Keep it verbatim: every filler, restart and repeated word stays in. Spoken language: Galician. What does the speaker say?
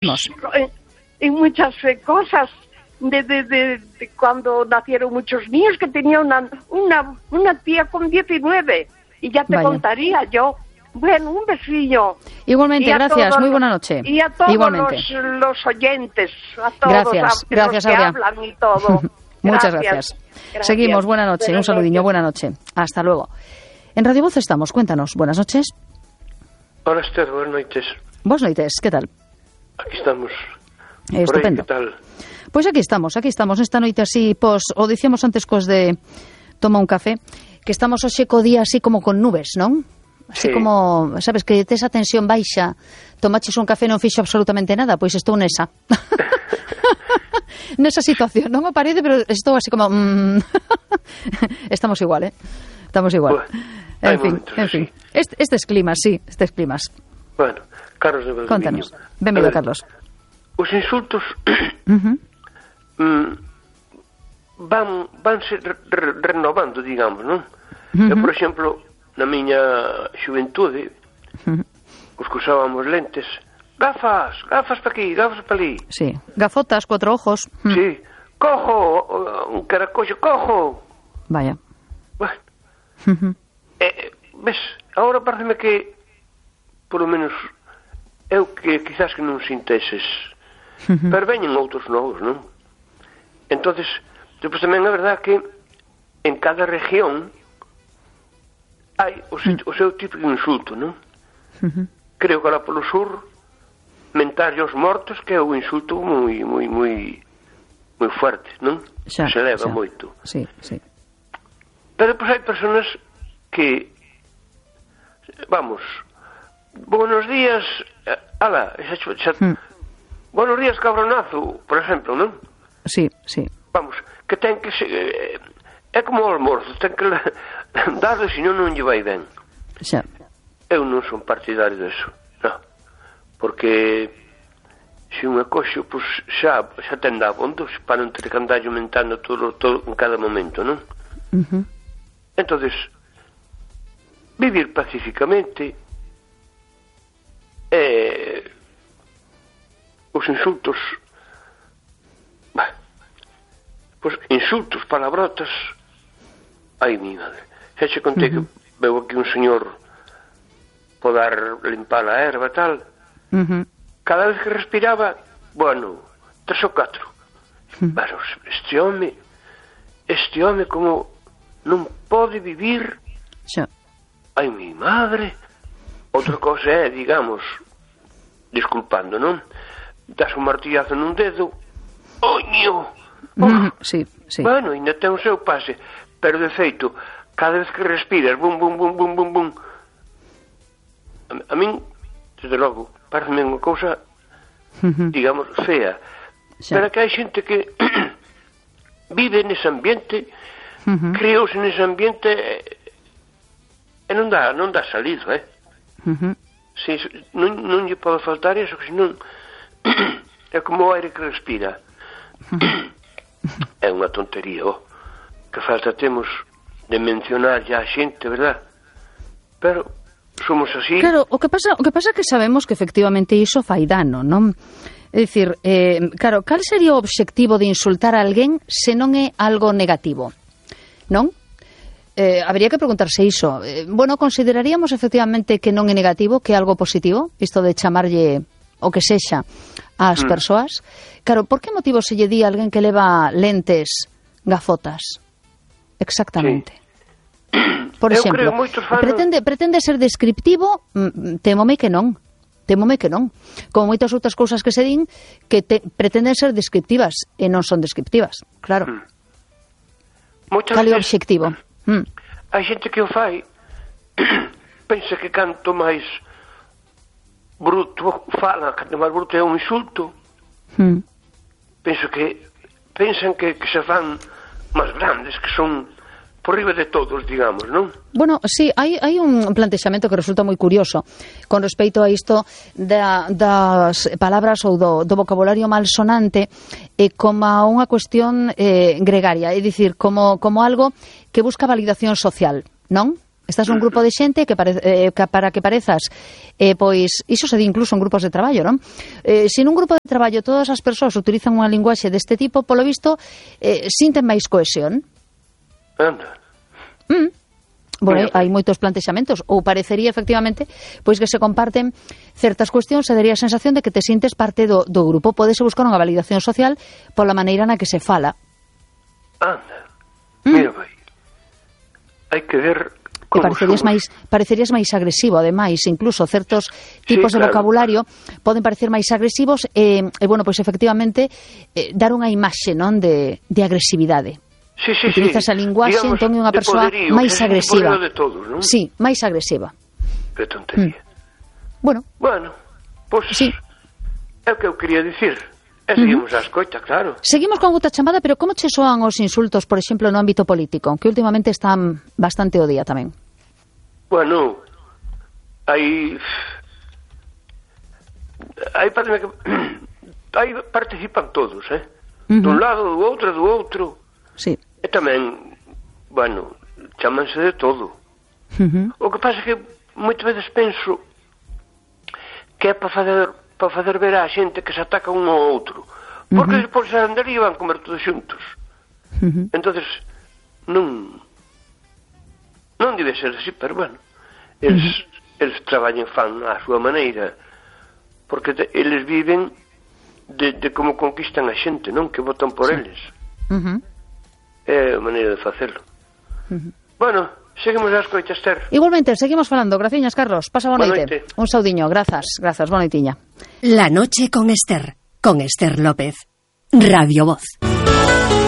en, en muchas eh, cosas de, de, de, de cuando nacieron muchos niños, que tenía una, una, una tía con diecinueve y ya te Vaya. contaría yo. Bueno, un besillo. Igualmente, gracias, todos, muy buena noche. Y a todos Igualmente. los, los oyentes, a todos Gracias, a, gracias, los que Aurea. hablan y todo. Muchas Gracias. gracias. Gracias. Seguimos, buena noche, Buenas un saludinho, noches. buena noche. Hasta luego. En Radio Voz estamos, cuéntanos, buenas noches. Hola Esther, buenas noites. Buenas noites, ¿qué tal? Aquí estamos. Eh, Por aí, estupendo. que tal? Pois aquí estamos, aquí estamos, esta noite así, pos, o dicíamos antes cos de toma un café, que estamos hoxe co día así como con nubes, non? Así Sí. como, sabes, que tes a tensión baixa, tomaches un café e non fixo absolutamente nada, pois estou nesa. Nesa situación, non me parece, pero estou así como... Mm, estamos igual, eh? Estamos igual. Bueno, hai en fin, momentos en así. fin. Este, estes climas, sí, estes climas. Bueno, Carlos de Valdoviño. Contanos. Benvido, A ver, Carlos. Os insultos Uh-huh. mm, van vanse re, re, renovando, digamos, non? Uh-huh. Eu, por exemplo, na miña xuventude, Uh-huh. os que usábamos lentes, gafas, gafas pa aquí, gafas pa ali. Sí, gafotas, cuatro ojos. Mm. Sí, cojo, un caracollo, cojo. Vaya. Bueno, Uh-huh. eh, ves, agora pareceme que, por lo menos, eu que quizás que non sinta eses, Uh-huh. pero veñen outros novos, non? Entonces, depois tamén é verdad que en cada región hai o, se, o seu tipo de insulto, non? Uh-huh. Creo que lá polo sur mentarlle aos mortos que é un insulto moi moi moi moi fuerte, non? Xa, Se leva xa. moito. Sí, sí. Pero depois hai personas que, vamos, buenos días, eh, ala, xa, xa, Hmm. buenos días cabronazo, por exemplo, non? Sí, sí. Vamos, que ten que se, eh, é como o almorzo, ten que la- darle, senón non lle vai ben. Xa. Eu non son partidario deso, non, porque se un acoxo, pois xa, xa ten dabondo, para non ter que andar aumentando todo, todo en cada momento, non? Uh-huh. Entonces, vivir pacíficamente, eh, os insultos, bah, pues insultos, palabrotas, ai mi madre, xa che contei Uh-huh. que veo aquí un señor podar limpar a erva e tal, Uh-huh. cada vez que respiraba, bueno, tres ou catro. Uh-huh. Pero este home, este home como non pode vivir, Xa. ai mi madre. Outra cosa é, digamos, disculpando, non? Das un martillazo nun dedo, oño, oh, Uh-huh. Sí, sí. bueno, ainda ten o seu pase, pero de feito, cada vez que respiras, bum, bum, bum, bum, bum, bum, a, a min, desde logo, parece unha cousa, Uh-huh. digamos, fea. Xa. Pero que hai xente que vive nese ambiente, Uh-huh. creouse nese ambiente e, e non dá, non dá salido, eh? Uh-huh. Si, non, non lle pode faltar iso, que senón é como o aire que respira. É unha tontería, oh, que falta temos de mencionar ya a xente, verdad? Pero somos así. Claro, o que pasa, o que pasa é que sabemos que efectivamente iso fai dano, non? É dicir, eh, claro, cal sería o obxectivo de insultar a alguén se non é algo negativo? Non? Eh, habría que preguntarse iso. Eh, bueno, consideraríamos efectivamente que non é negativo, que é algo positivo, isto de chamarlle o que sexa ás Mm. persoas. Claro, por que motivo se lle di a alguén que leva lentes, gafotas? Exactamente. Por Eu exemplo, creo moitos fan- pretende, pretende ser descriptivo, mm, temome que non. Temome que non. Como moitas outras cousas que se din que te, pretenden ser descriptivas e non son descriptivas. Claro. Mm. Moitas Cal é o veces obxectivo? Mm. hai xente que o fai pensa que canto máis bruto fala, canto máis bruto é un insulto. Mm. Penso que pensan que, que se fan máis grandes, que son por riba de todos, digamos, non? Bueno, sí, hai, hai un plantexamento que resulta moi curioso con respecto a isto da, das palabras ou do, do vocabulario malsonante eh, como a unha cuestión eh, gregaria, é dicir, como, como algo que busca validación social, non? Estás un grupo de xente que, pare, eh, que para que parezas, eh, pois, iso se di incluso en grupos de traballo, non? Eh, se nun grupo de traballo todas as persoas utilizan unha linguaxe deste tipo, polo visto, eh, sinten máis cohesión. Anda. Mm. Bueno, hai moitos plantexamentos, ou parecería efectivamente pois que se comparten certas cuestións e daría a sensación de que te sintes parte do, do grupo. Pódese buscar unha validación social pola maneira na que se fala. Anda. Mm. Mira, vai. Hai que ver como parecerías somos. máis parecerías máis agresivo, ademais, incluso certos tipos sí, de claro. vocabulario poden parecer máis agresivos e, e bueno, pois efectivamente eh, dar unha imaxe, non, de, de agresividade. Sí, sí, utilizas sí. a linguaxe, Digamos, entón é unha persoa poderío, máis agresiva. De todos, non? Sí, máis agresiva. Que tontería. Mm. Bueno. Bueno, pois pues, sí. É o que eu quería dicir. E seguimos uh -huh. a escoita, claro. Seguimos con outra chamada, pero como che soan os insultos, por exemplo, no ámbito político, que últimamente están bastante o día tamén? Bueno, aí aí parece que aí participan todos, eh? Uh -huh. Dun lado, do outro, do outro. Sí. E tamén, bueno, chámanse de todo. Uh -huh. O que pasa é que moitas veces penso que é para fazer para fazer ver á xente que se ataca un ao outro. Porque uh -huh. despois se andaría van comer todos xuntos. Uh -huh. Entonces, non non debe ser así, pero bueno, eles, uh -huh. eles traballan fan á súa maneira, porque te, eles viven de, de como conquistan a xente, non? Que votan por sí. eles. Uh -huh. É a maneira de facelo. Uh -huh. Bueno, seguimos as coitas, Esther. Igualmente, seguimos falando. Graciñas, Carlos. Pasa boa noite. Un saudiño. Grazas, grazas. Boa noitiña. La noche con Esther, con Esther López. Radio Voz.